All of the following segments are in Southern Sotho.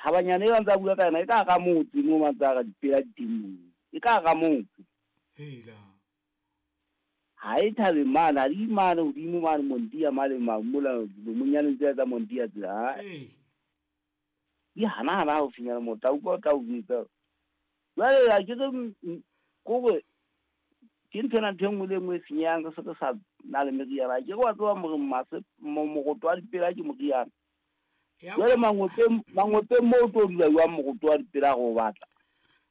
Thabanyana e ba ntsa bua ka yona e ka hara motse mo ba ntsa re dipela di teng moo. E ka hara motse. Hela. Ha e thabeng mane, ha di mane hodimo mane Montia mane mola monyaneng tsela tsa Montia tsela. Ha. Ee. Di hana hana haufinyana moo, tla utlwa o tla o jwetsa. Jwale ha ke re kore ke nthwena ntho e nngwe le e nngwe e senyehang re se re sa na le meriana. Ha ke re wa tseba more mase moroto wa dipela ke moriana. Jwale mangopeng moo o tlo dula jwang moroto wa dipela ha re o batla?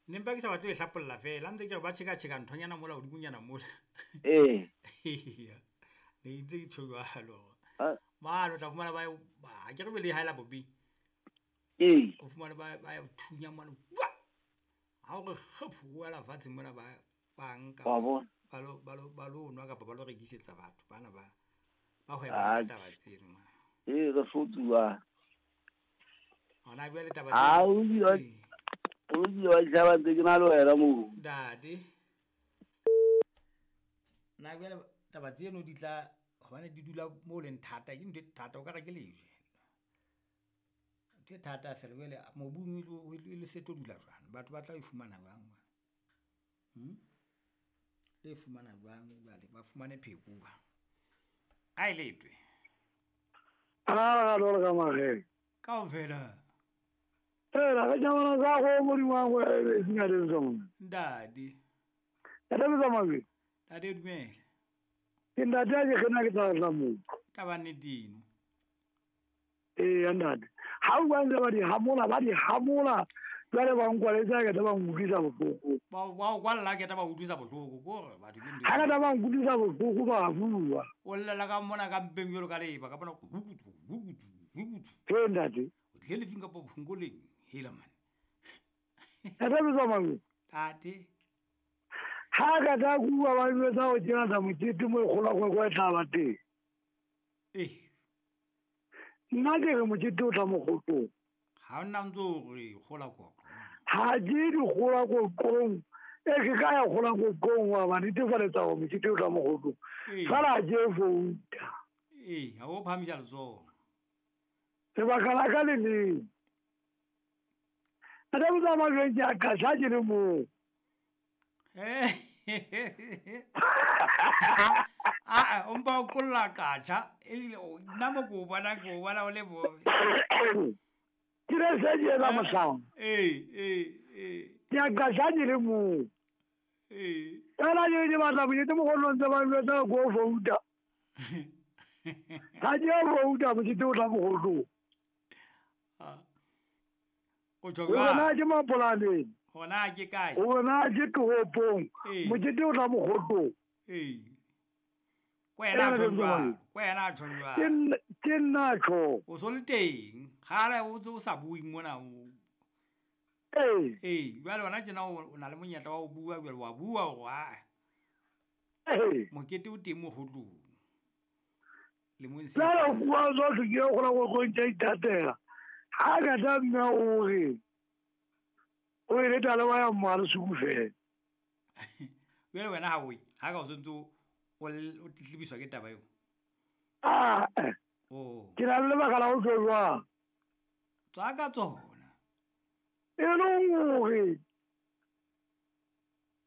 Ne mpa ke sa batle ho e hlapolla fela, ntse ke re ba tjheka-tjheka nthonyana mola hodimonyana mola. Ee. Ne ntse ke tjho jwalo. Mane o tla fumana ba ha ke re le haela bobeng. Ee. O fumane ba thunya mane. Ha o re kgephu o wela fatshe mona ba nka. Wa bona. Ba lo nwa kapa ba lo rekisetsa batho bana ba hweba ka taba tseno. Ee, re hlotsuwa. Hona jwale taba tseno. O bile wa ditjhaba ntse ke na le wena moo. Ntate. Na jwale taba tseno di tla hobane di dula mo leng thata, ke ntho e thata o ka re ke lejwe. Ntho e thata fela jwale mobung e le se tlo dula jwang? Batho ba tla e fumana jwang? Le fumana jwang jwale ba fumane pheko jwang? A e letwe. A ga ka mageng. Kaofela. Fela re nyamana za go modimo wa go e senya le tsona. Ntate. Ntate tsamaya. Ntate dumela. Ke ntate a ke kgena ke tla mo. Taba nnete eno. Ee ntate. Ha o bua ba di hamola jwale ba nkwaletse ke taba nkutlwisa bohloko. Ba o kwalla ke taba utlwisa bohloko kore batho ke ntho. Ha ka taba nkutlwisa bohloko ba bua. O llela ka mona ka mpeng jwalo ka leba ka bona hukutu hukutu hukutu. Ee ntate. O tlile lefing kapa phongoleng hela man. Ntate tsamaya. Ntate. Ha ka tla bua ba jwetsa ho tjena tsa mokete mo e kgola go e tla ba teng. Eh. Nna ke re mokete o tla mokgotong. Ha o nna ntse o re kgola koqo. Ha ke di kgola koqong. E ke ka ya kgola koqong wa ba netefaletsa hore mokete o tla mokgotong. Fela ke vouta. Ee, ha o phamisa letsoho. Lebaka la ka le leng. Ntate tsamaya jwang ke a qasha ke le moo. A o mpa o kolla qatjha e nna mo ko bona ke o bona o le bo. Ke le se ke etsa mohlala. Ee. Ke a qasha ke le moo. Ee. Fela ke batla mokete mogolong tse ba jwetsa ko vouta. Ha ke vouta mokete o tla mogolong. O tjho jwang? Hona ke mapolaneng. Hona ke kae? Hona ke toropong. Mokete o tla mogolong. Ee. Kwena tjho jwang? Kwena tjho jwang? Ke nna tjho. O so le teng. Kgale o ntse o sa bue mona o. Ee. Ee, jwale hona tjena o na le monyetla wa ho bua jwale wa bua hore a. Ee. Mokete o teng mogolong. Le mo ntse. Jwale o bua tsohle ke kgona go ntse ithatela. Ha ka tla mme o re o ile tla wa ya mmala suku fela. Jwale wena ha o ye, ha ka o sentse o tlitlebiswa ke taba eo. Ah. Oh. Ke na le lebaka la ho tjho jwang? Tswa ka tsona. E le hore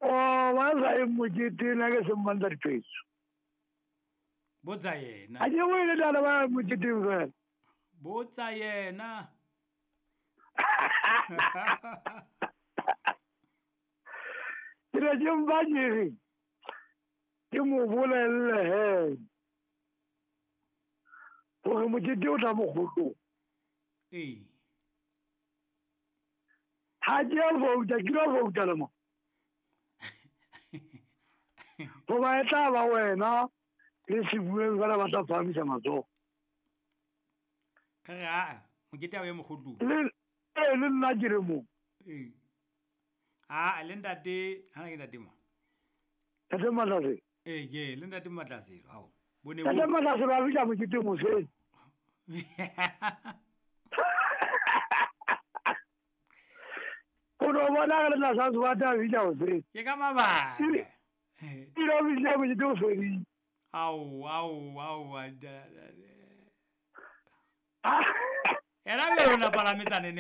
o ba sa e mokete na ke se mmantsa dipetso. Botsa yena. Ha ke o ile tla ba moketeng fela. Botsa yena. Ke re ke mbanyere. Ke mo bolelle he. Hore mokete o tla mokgotong. Ee. Ha ke a vouta, ke lo vouta le mo. Hoba e tla ba wena le sebueng fela ba tla phahamisa matsoho. Ka re a mokete o ye mokgotlong. Le le nna ke re mo. Ee. A le ntate, ha ke ntate mo. Ntate Matlase. Ee, ke le ntate Matlase hao. Bone bo. Ntate Matlase ba bitsa mokete moseng. O no bona re tla sa tswa ta bitsa hoseng. Ke ka mabaka. Ke lo bitsa mokete o fedile. Ao ao ao. Era le rona palametsane ne